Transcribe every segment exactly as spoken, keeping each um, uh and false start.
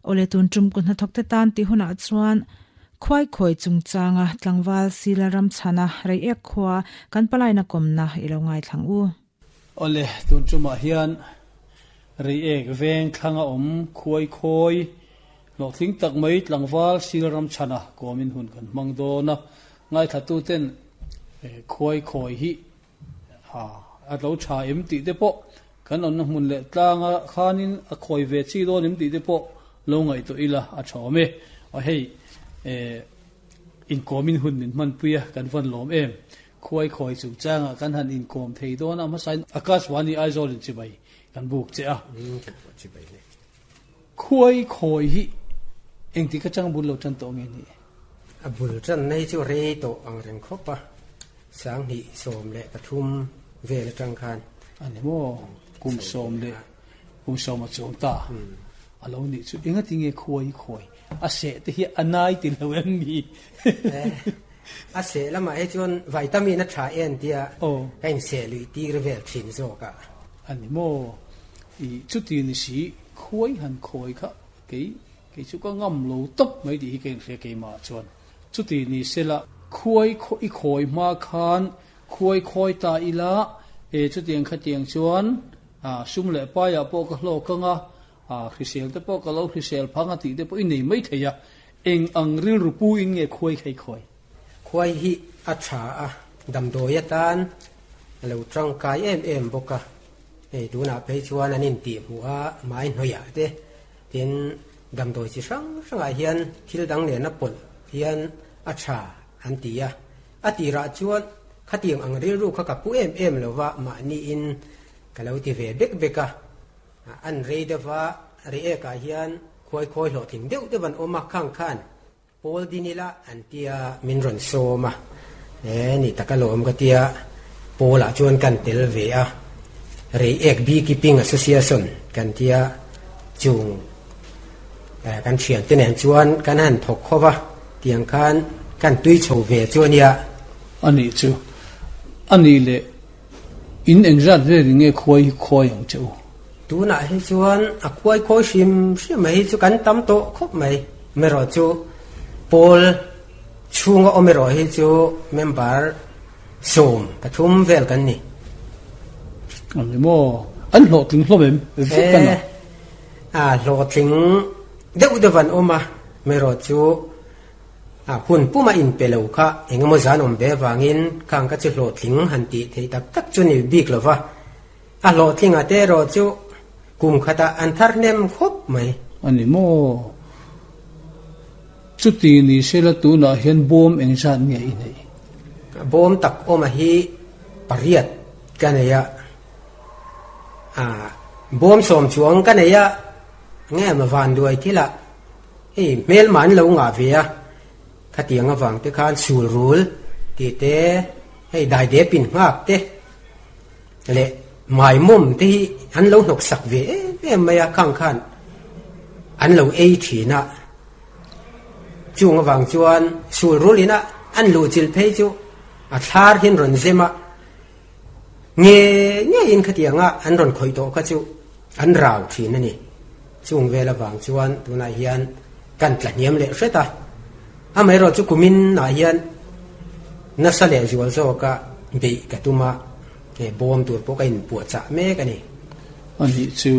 Ole tun tum ku hna thok te tan ti huna chuan khuai khoi chungchanga tlangwal sila ram chana rei ek khwa kan palai na komna ilo ngai thlang u. Ole tun chuma hian rei ek veng thlanga om khuai khoi lo thling tak mai tlangwal sila ram chana komin hun kan mang do na ngai thatu ten khuai khoi hi a a lo tha em ti te po kan on na hmun le tlanga khanin a khoi ve chi do nim ti te po lo ngai to ila a thome a hei in komin hun min man puia kan van lom em khuai khoi chu changa kan han in kom thei do na ma sain akaswani Aizawl in chibai kan buk che a khuai khoi hi eng ti ka chang bul lo chan to nge ni a bul chan nei chu re to ang reng khopa sang hi som le pathum ve le tang khan ani mo kum som le kum som a chong ta alo ni chu enga ti nge khuai khoi a se te hi anai ti lo em mi a se lama he chuan vitamin a tha en tia kain se lui ti re vel thin zo ka ani mo i chu ti ni si khuai han khoi kha ke ke chu ka ngam lo top mai di hi ken hre ke ma chuan chu ti ni se la khuai khoi khoi ma khan khuai khoi ta ila e chu tiang kha tiang chuan a sum le pa ya po ka hlo ka nga a khrisel te po ka lo khrisel phanga ti te po in nei mai theya eng ang ril rupu in nge khuai khai khoi khuai hi a tha a dam do ya tan lo tang kai em em boka e du na pe chuan anin ti mu a mai hnoya te tin dam doi chi sang sang a hian thil dang le na pol hian a tha an ti ya a ti ra chuan khatiang ang ril ru kha ka pu em em lo wa ma ni in ka lo ti ve bek beka an rei de wa re e ka hian khoi khoi lo thing deuh de van oma khang khan pol dinila an tia min ron soma e ni takalom ka tia pola chuan kan tel ve a re ek Beekeeping Association kan tia chung kan thian te nen chuan kan han thok khowa tiang khan kan tui chho ve chuan ya ani chu ani le in engzat ve nge khoi khoi ang chu tu na hi chuan a khuai khoi sim sim mai chu kan tam to khop mai mero chu pol chunga omero hi chu member som pathum vel kan ni ani mo an hlo tling hlom em vek kan a hlo tling deuh de van oma mero chu a hun puma in pelo kha engemaw zan om be wangin khang ka chu hlo tling han ti thei tak tak chu ni bik lova a hlo tling a te ro chu kum khata an thar nem khop mai ani mo chu ti ni sela tu na hian bom eng zan nge i nei bom tak oma hi pariat kaneya a bom som chuang kaneya nge ma van duai thila ei mel man lo nga ve a khatiang awang te khan sul rul ti te hei dai de pin ngak te le mai mum te hi an lo nok sak ve em mai a khang khan an lo ei thina chung awang chuan sul rulina an lu chil phei chu a thlar hin ron zema nge nge in khatianga an ron khoi to kha chu an rau thin ani chung vela wang chuan tuna hian kan tlaniam le hreta a mai ro chu kumin na hian na sa le zual zo ka be ka tuma e bom tur po ka in pu cha me ka ni ani chu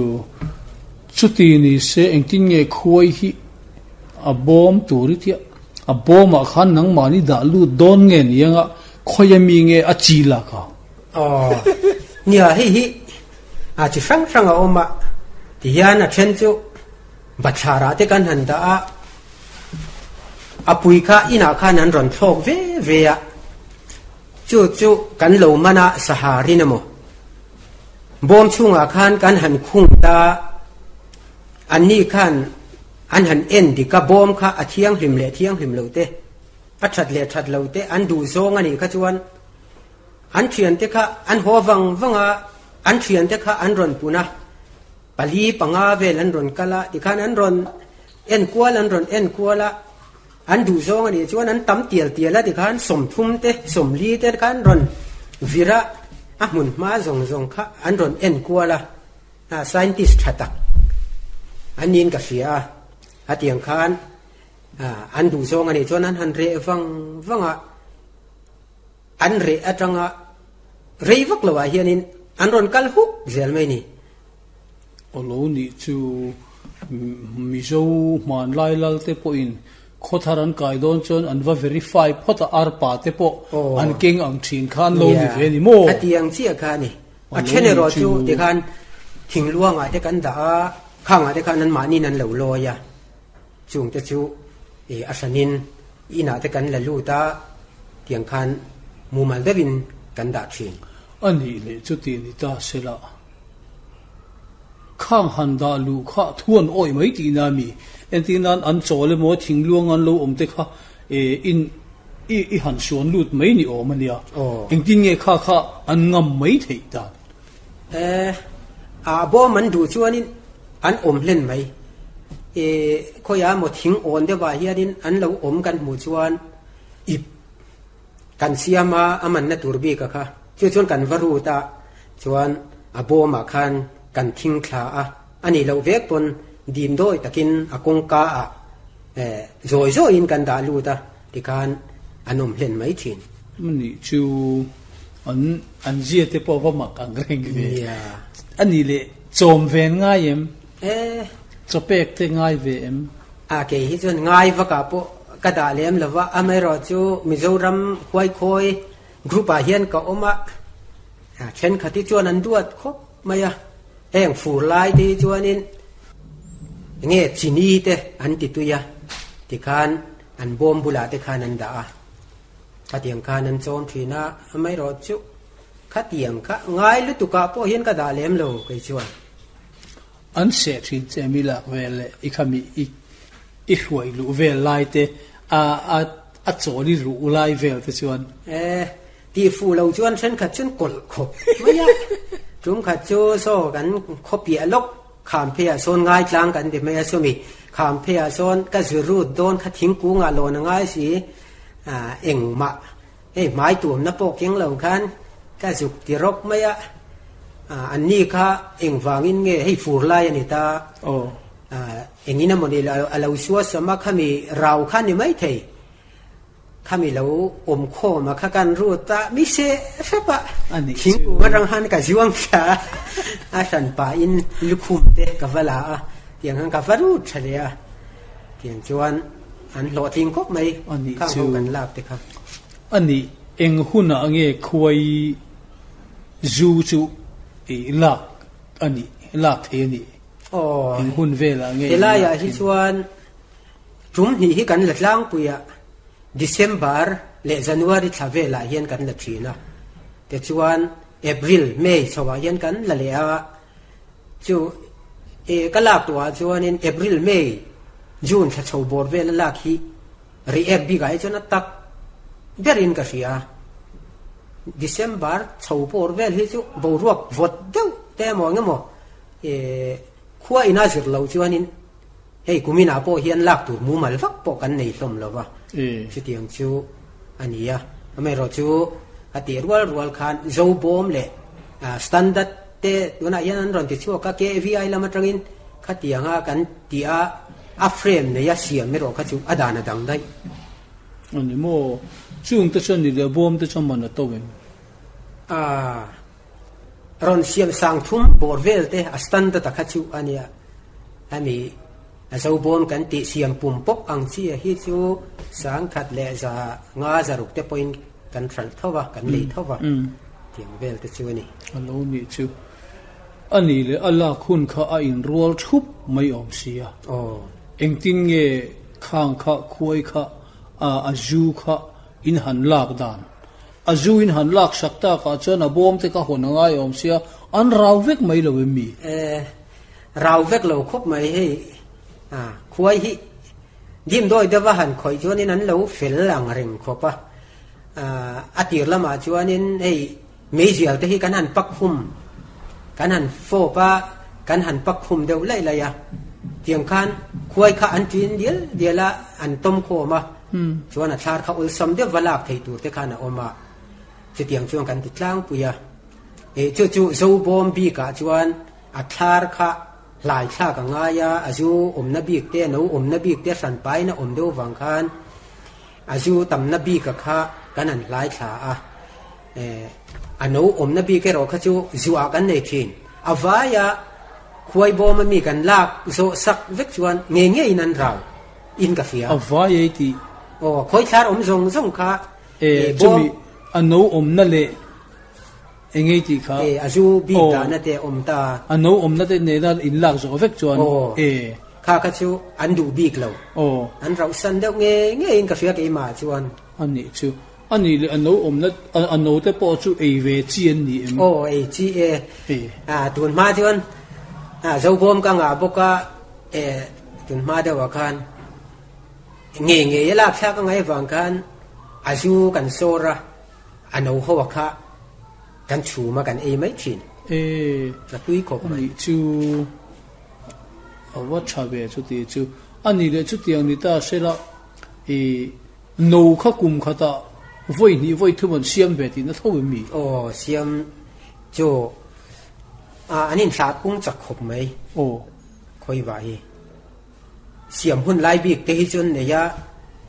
chuti ni se engtin nge khuai hi a bom turi thia a bom a khan nang mani da lu don nge nianga khoyami nge a chi la ka oh nia hi hi a chi sang sang a oma ti hian a then chu bathara te kan han da a apui kha ina khan an ron thok ve ve a chu chu kan lo mana sahari namo bom chunga khan kan han khung ta an ni khan an han en di ka bom kha a thiang hlim le thiang hlim lo te a that le that lo te an du zong ani kha chuan an thian te kha an ho wang wanga an thian te kha an ron puna pali panga vel an ron kala ti khan an ron en kwal an ron en kwala an du zong ani chuan an tam tial tial a ti khan som thum te som li te khan ron vira a hmun ma zong zong kha an ron en kwala a scientist thatak anin ka sia A tiang khan an duh zawng a nih chuan an han reh vang vang a, an reh atanga rei vak lo ah hianin an rawn kal huk zel mai ni. Aw lo nih chu Mizo hmanlai lal te pawhin khawthar an kai dawn chuan an va verify phawt a, arpa te pawh an keng ang thin kha an lo ni ve a ni maw? A tiang chiah kha a ni. A then erawh chu tikhan thingluangah te kan dah a, khangah te khan anmahniin an lo lawi a, chungte chu a hranin inah te kan la lut a, tiang khan mumal deuhin kan dah thin. A nih leh chuti ni ta sela, khang han dah luh kha thuan awih mai tihna a mi? Entir nan an chawl emaw thingluang an lo awm te kha in i i han suan lut mai ni awm a nia. Engtin nge kha kha an ngam mai theih dan? E, a bawm an duh chuanin an awm hlen mai. E, khawiah maw thing awn deuhah hianin an lo awm kan hmuh chuan ip kan siam a, a manna tur bik a kha. Chu chuan kan va rut a, chuan a bawmah khan kan thing thla a, a nih loh vek pawn dim dawi takin a kawngka ah zawi zawiin kan dah lut a, tikhan an awm hlen mai thin. Anih chu an an zia te pawh va mak ang reng ve. Anih leh chawm ven ngai em? Chaw pek te ngai ve em? A kei hi chuan ngai vakah pawh ka dah lem lo va, amaherawhchu Mizoram Huaikhawi group ah hian ka awm a, thenkhat hi chuan an duat khawp mai a, heng fur lai te hi chuanin enge chini te an ti tui a, tikhan an bawm bulah te khan an dah a, khatiang khan an chawm thin a, amaherawhchu khatiang kha ngai lutukah pawh hian ka dah lem lo kei chuan. An seh thin che mi lak vel leh i khami i i hruai luh vel lai te a a a chawl i ruh lai vel te chuan. E, tih fuh lo chuan thenkhat chuan kawlh khawp mai a, tum khat chu saw kan khawpiah lawk kham pheiah sawn ngai tlang kan ti mai a, sawmi kham pheiah sawn ka zu rut dawn kha thingkungah lawn a ngai si, a engmah hei hmai tuamna pawh keng lo khan ka zuk ti rawk mai a, an ni kha engvangin nge hei fur lai a ni ta, engin emaw ni a lo suah sam a, khami rau kha ni maithei, khami lo awm khawm a kha kan rut a, mi se hrep a, thingkung atang khan ka zuang thla a, a hran pahin lukhum te ka va la a, tiang khan ka va rut tha leh a, tiang chuan an hlawhtling khawp mai khang ho kan lak te kha. A nih eng hunah nge khuai zu chu i lak a nih, lak thei a nih? Aw, Eng hun velah nge helaiah hi chuan tum hnih hi kan la tlangpui a, December leh January thla velah hian kan la thin a, tichuan April, May chhoah hian kan la leh a, chu e ka lak tuah chuanin April, May, June thla chho bawr vela lak hi react bikah hi chuan a tak berin ka hria. December chho bawr vel hi chu boruak vawt deuh te emaw eng emaw khua ina zir loh chuanin hei kuminah pawh hian lak tur mumal vak pawh kan nei hlawm lo va, chutiang chu a ni a. Amaherawhchu a tih rual rual khan Zobawm leh standard te tunah hian an rawn ti chhuak a, K V I lam atangin khatianga kan tih a, a frame neia siam erawh kha chu a dan a dang daih. A ni maw? Chung te chuan ni leh bawm te chuan man a to em? A rawn siam sang thum bawr vel te a standard a kha chu a nia. Hemi a zo bawm kan tih siam pum pawp ang chi a hi chu sang khat leh za nga zaruk te pawhin kan hralh tho va, kan lei tho va tiang vel te chu a ni. A lo nih chu. A nih leh a lak hun kha a inrual thup mai awm sia. Engtin nge khang kha khuai kha a zu kha in han lak dan? A zu in han lak sak takah chuan a bawm te kha hawn a ngai awm sia, an rau vek mai lo em mi? E, rau vek lo khawp mai hei. A, khuai hi dimdawi deuha han khawih chuanin an lo fel ang reng khawp a. A tir lamah chuanin hei meizial te hi kan han pak khum, kan han fawp a, kan han pak khum deuh laih laih a. Tiang khan khuai kha an ṭin dial dial a, an tawm khawm a, chuan a thlar kha awlsam deuh va lak thei tur te khan a awm a. Chutiang chuan kan ti tlangpui a. Chu chu Zobawm bikah chuan a thlar kha Hlai thla ka nga ya azu om na bik te no om na bik te san pai na om do wang khan azu tam na bi ka kha kan an hlai thla a e ano om na bi ke ro kha chu zuwa kan nei thin awaya khuai bom mi kan lak zo sak vek chuan nge nge in an rau in ka fia awaya ti o khoi thlar om zong zong kha e chumi ano om na le engei ti kha e azu bi ta na te om ta ano om na te ne na in lak zo vek chuan e kha kha chu an du bik lo o an rau san deuh nge nge in ka fia ke ma chuan ani chu ani le ano om na ano te po chu ei ve chi an ni em o ei chi e a tun ma chuan a zo bom ka nga boka e tun ma de wa khan nge nge la phya ka ngai wang khan azu kan sora ano ho wa kha kan chu ma kan ei mai thin e na tui khop mai chu awa cha ve chu ti chu ani le chu tiang ni ta sela e no kha kum kha ta voi ni voi thu mon siam ve ti na tho mi o siam chu a anin thla pung chak khop mai o khoi wa hi siam hun lai bik te hi chun ne ya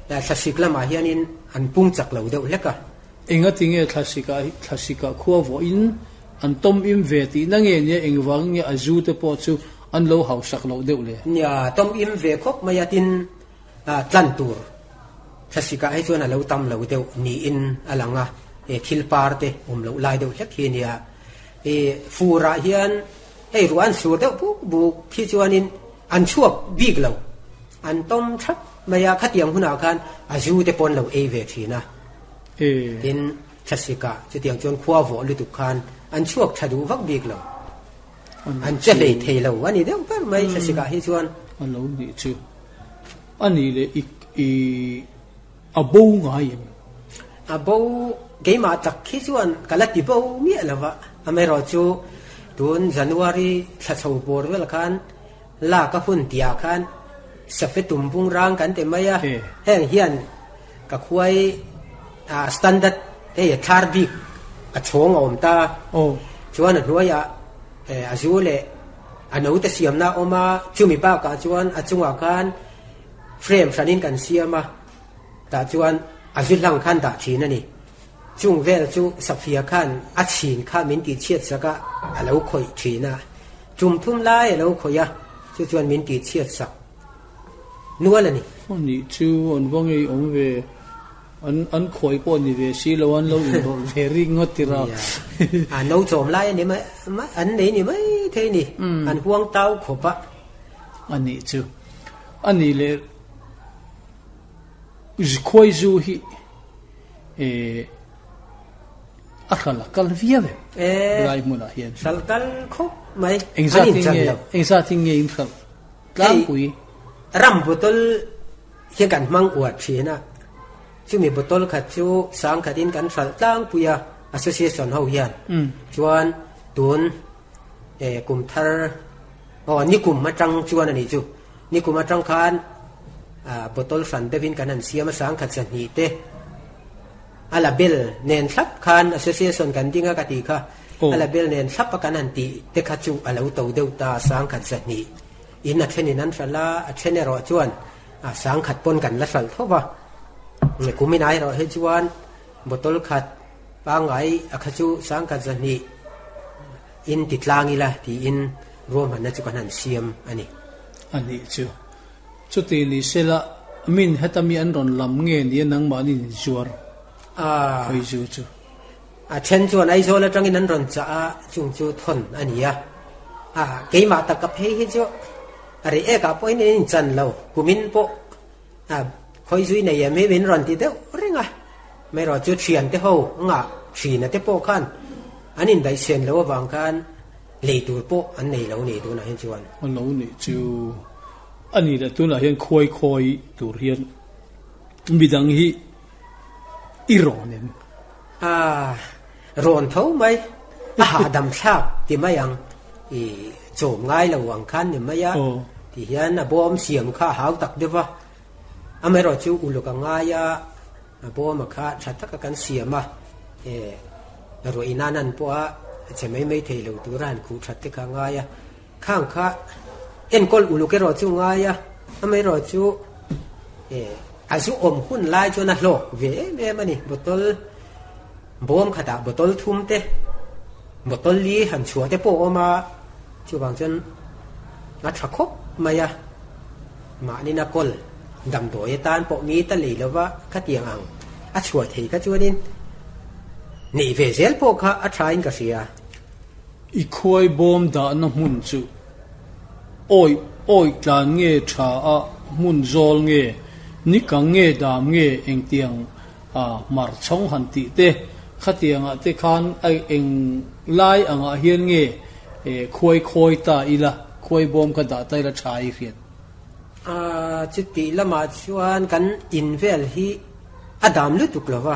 la thlasik lama hianin an pung chak lo deuh leka enga tinge thlasika thlasika khuwa vo in an tom im ve ti na nge ne engwang nge azu te po chu an lo hau sak lo deuh le nya tom im ve khop maya tin a tlan tur thlasika ai chuan a lo tam lo deuh ni in alanga e thil par te um lo lai deuh hlek hi nia e fura hian hei ruan sur deuh bu bu khi chuanin an chuak bik lo an tom thap maya khatiang huna khan azu te pon lo e ve thina e tin thlasika chu tiang chuan khuwa vo lu tu khan an chuak thadu vak bik lo an che lei thei lo ani deuh per mai thlasika hi chuan an lo ni chu ani le i i a bo ngai em a bo ge ma tak khi chuan kala ti bo mi alawa ame ro chu tun January thla chho bor vel khan la ka hun tia khan safe tum bung rang kan te maya heng hian ka khuai a standard te thar bik a chhong om ta o chuan a hnuaia e azu le ano te siam na oma chumi pa ka chuan a chunga khan frame sanin kan siama ta chuan azu lang khan da thin ani chung vel chu safia khan a chin kha min ti chiat saka a lo khoi thina chum thum lai lo khoya chu chuan min ti chiat sak nual ani ani chu an wang ei om ve an an khoi po ni ve si lo an lo in ro ve ri ngot ti ra a no chom lai ani mai an nei ni mai the ni an huang tau khopa ani chu ani le khoi zu hi e a khala kal via ve e lai muna hian sal kal khop mai engza ting nge engza ting nge in khal tlang pui ram botol hian kan mang uat thina chu mi botol khat chu sang khatin kan sal tlang puya association ho hian chuan tun e kum thar o ni kum ma tang chuan ani chu ni kum ma tang khan a botol san devin kan an siam sang khat san ni te ala bel nen thlap khan association kan dinga ka ti kha ala bel nen thlap kan an ti te kha chu alo to deuh ta sang khat san ni in a thenin an sala a thene ro chuan a sang khat pon kan la sal thowa ne kumin ai ro he chuan botol khat pangai a kha chu sang khat zan ni in ti tlangi la ti in rom han na chu kan han siam ani ani chu chu ti ni sela min hetami an ron lam nge ni nang ma ni zuar a khoi zu chu a then chuan ai zo la tangin an ron cha a chung chu thon ania a keima ta ka phei hi chu are e ka point in chan lo kumin po a khoi zui nei me min ron ti deuh ringa mai ro chu thian te ho nga thina te po khan anin dai sen lo wang khan lei tur po an nei lo ni tu na hin chuan an lo ni chu ani la tu na hian khoi khoi tur hian midang hi i ronem a ron tho mai a ha dam thak ti mai ang i chom ngai lo wang khan ni mai a ti hian a bom siam kha hau tak dewa amero chu uluka ngaya a bom kha thataka kan siama e ro inanan po a che mai mai thei lo turan khu that te kha ngaya khang kha Enkol uluk erawh chu ngai a, amaherawh chu eh a zu awm hun lai chuan a hlawk ve em em a ni. Bottle bawm khatah bottle thum te, bottle li han chhuah te pawh a awm a, chuvang chuan a tha khawp mai a. Mahni na kawl damdawi atan pawh mi ta lei lova khatiang ang a chhuah thei kha chuanin neih ve zel pawh kha a tha in ka hria. I khuai bawm dahna hmun chu awi awi tlan nge tha a hmun zawl nge ni kang nge dam nge engtiang a mar chhawng han tih te khatiangah te khan a eng lai angah hian nge khuai khawi ta ila khuai bawm kha dah ta ila tha i hriat. A chuti lamah chuan kan in vel hi a dam lutuk lova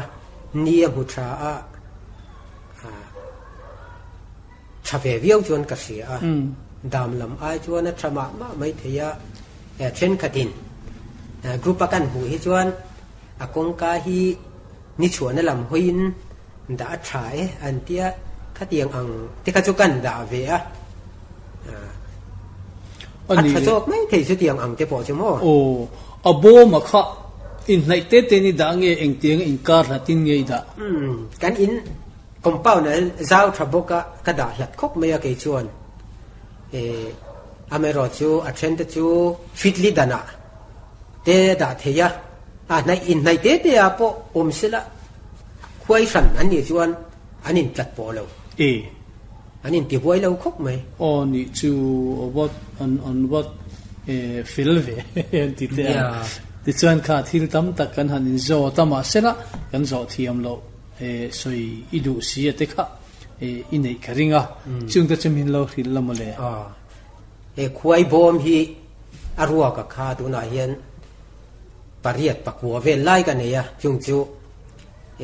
ni a hmu tha a tha ve viau chuan ka hria a dam lam ai chuan a tha mah mah mai thei a thenkhatin group a kan hmuh hi chuan a kawngka hi ni chhuahna lam hawiin dah a tha e an tia khatiang ang te kha chu kan dah ve a a tha zawk mai thei chu tiang ang te pawh chu maw. Aw a bawm a kha in hnaih te te ni dah nge engtiang inkar hlatin nge i dah. Um kan in compound a zau tha bawk a ka dah hlat khawp mai a kei chuan eh amaherawh chu a then te chu fitli danah te dah thei a a hnaih in hnaih te te ah pawh awm sela khuai hran an nih chuan an in tlat pawh lo. E an in ti buai lo khawp mai. Aw ni chu wat an an wat e fel ve an ti te a tichuan kha thil tam tak kan han in zo ta mah sela kan zawh thiam lo e sawi i duh si a te kha e i neih ka ring a chung te chu min lo hrilh la maw le. A he khuai bawm hi a ruak a kha tunah hian pariat pakua vel lai ka nei a chung chu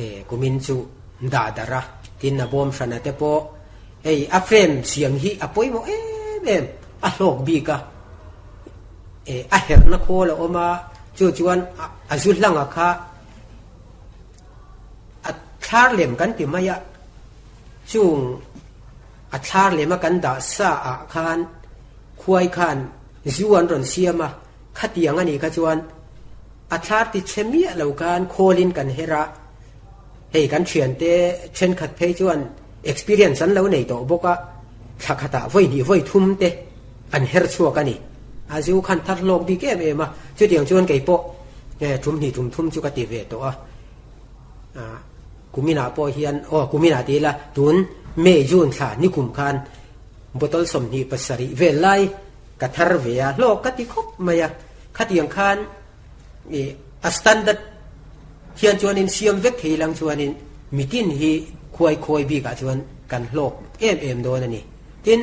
e kumin chu dah dar a tin a bawm hran a te pawh hei a frame siam hi a pawimawh em em a hlawk bik a e a herna khawl a awm a chu chuan a zu hlang a kha a thlar lem kan ti mai a chung a thlar lem a kan dah sa ah khan khuai khan zu an rawn siam a khatiang ani kha chuan a thlar ti che miah lo khan khawlin kan hera hei kan thian te thenkhat phei chuan experience an lo nei tawh bawk a thla khatah vawi hnih vawi thum te an her chhuak ani a zu khan thar hlawk bik em em a chutiang chuan kei pawh thum hnih thum thum chu ka ti ve tawh a kumina pawh hian aw kumina ti ila tun May June thla ni kum khan bottle sawmhnih pasarih vel lai ka thar ve a hlawk ka ti khawp mai a khatiang khan a standard hian chuanin siam vek thei lang chuanin mitin hi khuai khawi bikah chuan kan hlawk em em dawn ani. Tin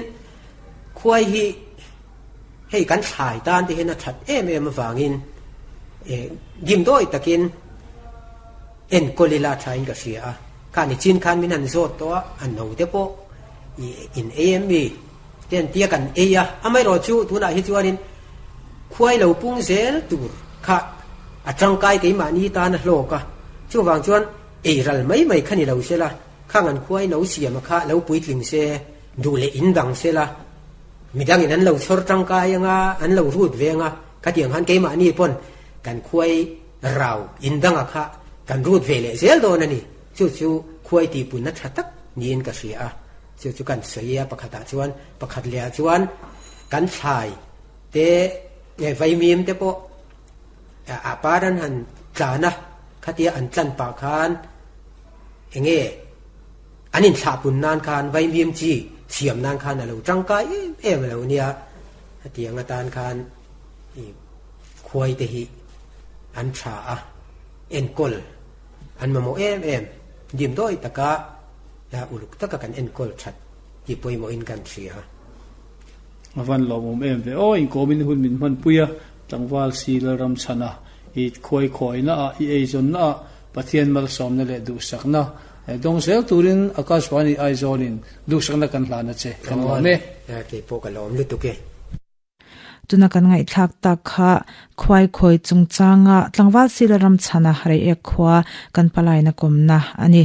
khuai hi hei kan thlai tan te hian a that em em awangin e dim dawi takin enkawl ila tha in ka hria a khani chin khan min han zawt tawh a a no te pawh in ei em mi ten tia kan ei a amaherawh chu tunah hi chuanin khuai lo pung zel tur kha a tangkai keimahni tan a hlawk a chuvang chuan ei ral mai mai kha ni lo sela khang an khuai no siam a kha lo puitling se duh leh in dang sela midangin an lo chhawr tangkai anga an lo rut ve anga khatiang khan keimahni pawn kan khuai rau in dang a kha kan rut ve leh zel dawn ani chu chu khuai ti punna tha tak niin ka hria a chu chu kan sawi a pakhatah chuan pakhat leh ah chuan kan thlai te vaimim te pawh a par an han tlan a khatia an tlan pah khan enge an in thlah pun nan khan vaimim chi siam nan khan a lo tangkai em em lo nia hetiang atan khan khuai te hi an tha a enkawl an mamawh em em dim dawi taka uluk taka kan enkawl that ti pawimawh in kan hria. Avan lawmawm em ve aw inkawmin hun min hman pui a tlangval si lalram chhana i khuai khawi na a i eizawn na a Pathian malsawmna leh duhsakna dawng zel turin Akashvani Aizawlin duhsakna kan hlana che kan lawm e. Kei pawh ka lawm lutuk e. Tuna kan ngaihthlak tak kha khuai khawi chungchanga tlangval si lalram chhana Reiek khua kan palaina kawmna ani.